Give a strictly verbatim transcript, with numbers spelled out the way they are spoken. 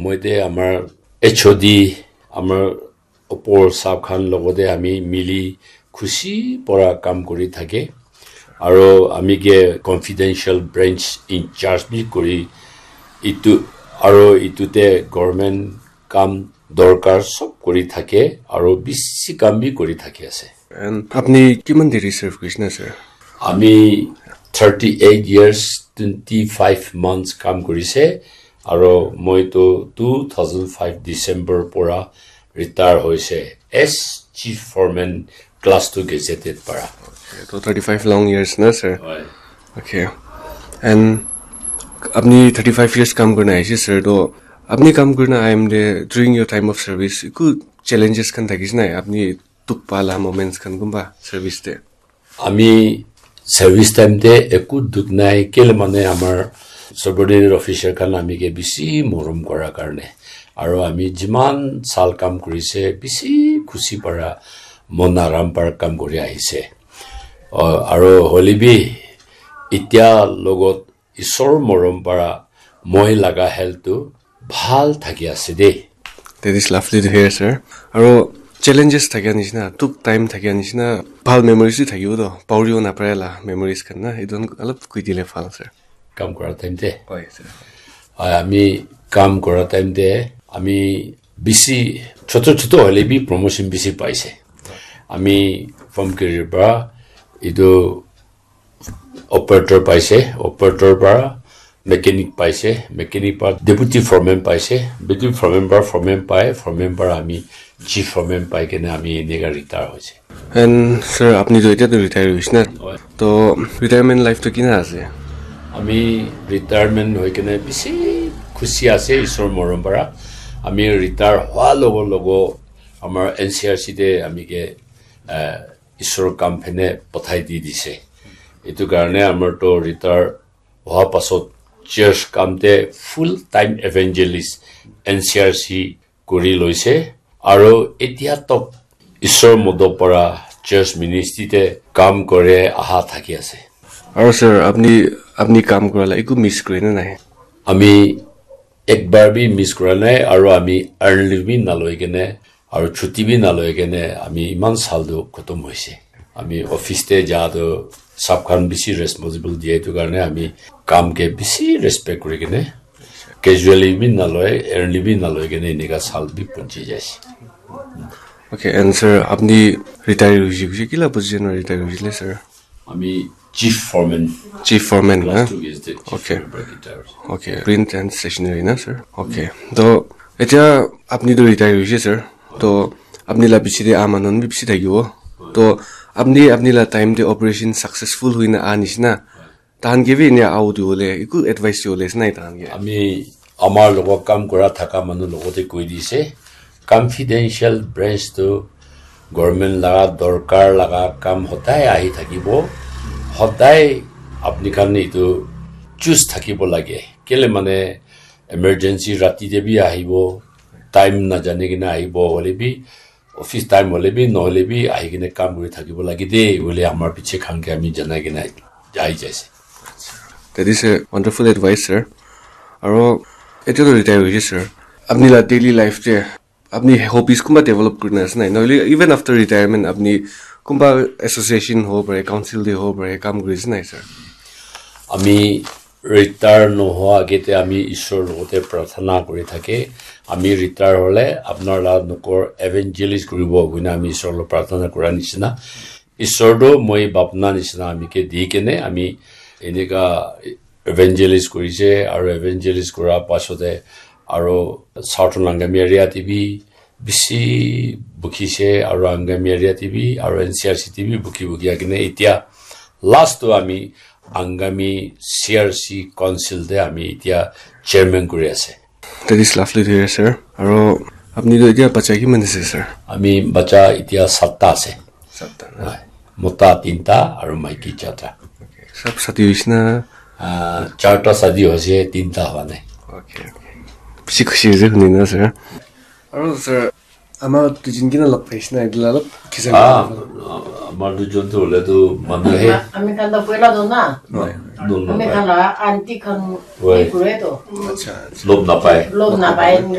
Moi te amar H O D, amar opor sab khan logote ami mili khushi para kam kuri thake. Aro ami ke confidential branch in charge bi kuri itu, aro itu te government kam dorkar sob kuri thake, aro bisi kam bi kuri thake ase. And apni kiman deri serve kurisna, sir? Ami thirty eight years, twenty five months kam kurise, aro moi to two thousand five December pora retire hoise as chief foreman class two gazetted para. Okay, to thirty five long years na, sir? Hoi. Okay. And apni thirty five years kam kurina aise, sir. To apni kam kurina time te, during your time of service, iku challenges khan thakise nai? Apni dukh pa la moments khan kunba service te? Ami service time te eku dukh nai, kele mane amar subordinate officer khan ami ke bisi morom kora karne. Aro ami jiman sal kam kurise, bisi khushi para, mon aram para kam kuri ahise. O, aro hole bi itya logot Isor morom para moi laga health tu bhal thaki ase de. That is lovely to hear, sir. Aro challenges thakia nishina, dukh time thakia nishina, bhal memories bi thakibo to, pauribo napare la memories khan na, etu khan alop koi dile bhal, sir. Kam kora time te? Hoi, sir. Hoi, ami kam kora time te, ami bisi, choto choto hole bi promotion bisi paise. Ami farm career para etu operator paise, operator para mechanic paise, mechanic para deputy foreman paise, deputy foreman para foreman pai, foreman para ami chief foreman pai kene ami eneka retire hoise. And sir, apni to etia to retire hoise na? Hoi. To retirement life to kina ase? Ami retirement hoi kene bisi khushi ase Isor morom para. Ami retire hoa logo logo amar N C R C te ami ke, eh, Isor kam phene pathai di dise. Etu karne amar to retire hoa pasot church kam te full time evangelist N C R C kuri loise. Aro etia tok Isor modo para church ministry te kam kore aha thaki ase. Aro sir, apni, apni kam kora la eku miss kure na nai? Ami ek bar bi miss kura nai, aro ami early bi naloi kene, aro chuti bi naloi kene, ami iman sal tu khatam hoise. Ami office te ja tu sab khan bisi responsible diye tu karne ami kam ke bisi respect kuri kene, casually bi naloi, early bi naloi kene enika sal bi punchi jaise. Okay, and sir, apni retire hoise, hoise, kila position para retire hoisile, sir? Ami chief foreman. Chief foreman, class na? Two gazetted chief foreman para retire hoise. Okay, print and stationery na, sir? Okay. To, etia apni to retire hoise, sir. To, apni la piche te ah manu bi bishi thakibo. To, apni, apni la time te operation successful hoina ah nishina. Tahan ke bi enia out hole, eku advice dibole ase nai tahan ke? Ami amar logot kam kura thaka manu logot te koi dise, confidential branch tu government laga dorkar laga kam hodai ahi thakibo. Hodai apni khan etu choose thakibo lage. Kele mane emergency rati te bi ahibo, time na jane kena ahibo, hole bi office time hole bi nohole bi ahi kena kam kuri thakibo lage de, bole amar piche khan ke ami janai kena jai jaise. That is a wonderful advice, sir. Aro etia to retire hoise, sir. Apni la daily life te apni hobbies kunba develop kurina ase nai? Nohole even after retirement apni kunba association hobo pare, council te hobo pare, kam kuri ase nai, sir? Ami retire nohoa age te ami Isor logot te prarthana kuri thake. Ami retire hole apnar la nokor evangelist kuribo koina ami Isor logot prarthana kura nishina. Isor tu moi bapna nishina ami ke di kene ami enika evangelist kurise, aro evangelist kura pasote aro Southern Angami area te bi bisi bukhise, aro Angami area te bi, aro N C R C te bi bukhi bukhi akine etia last to ami Angami C R C council te ami etia chairman kuri ase. That is lovely to hear, sir. Aro apni to etia bacha kiman ase, sir? Ami bacha etia satta ase. Satta na? Hoi. Mota tinta aro maiki charta. Okay. Sab sati hoise na? Ah, charta sadi hoise, tinta howa nai. Okay, okay. Bishi khushi hoise huni na, sir. Aro, sir, Ama tu jin kina lok paisna idla lok kisa. Ah, amar tu jon tu le tu manu he. Ami khan to puela do na. Dol na Ami pai. Khan la aunty khan Right. Ni kure to. Acha, acha. Lob na pai. Lob na pai.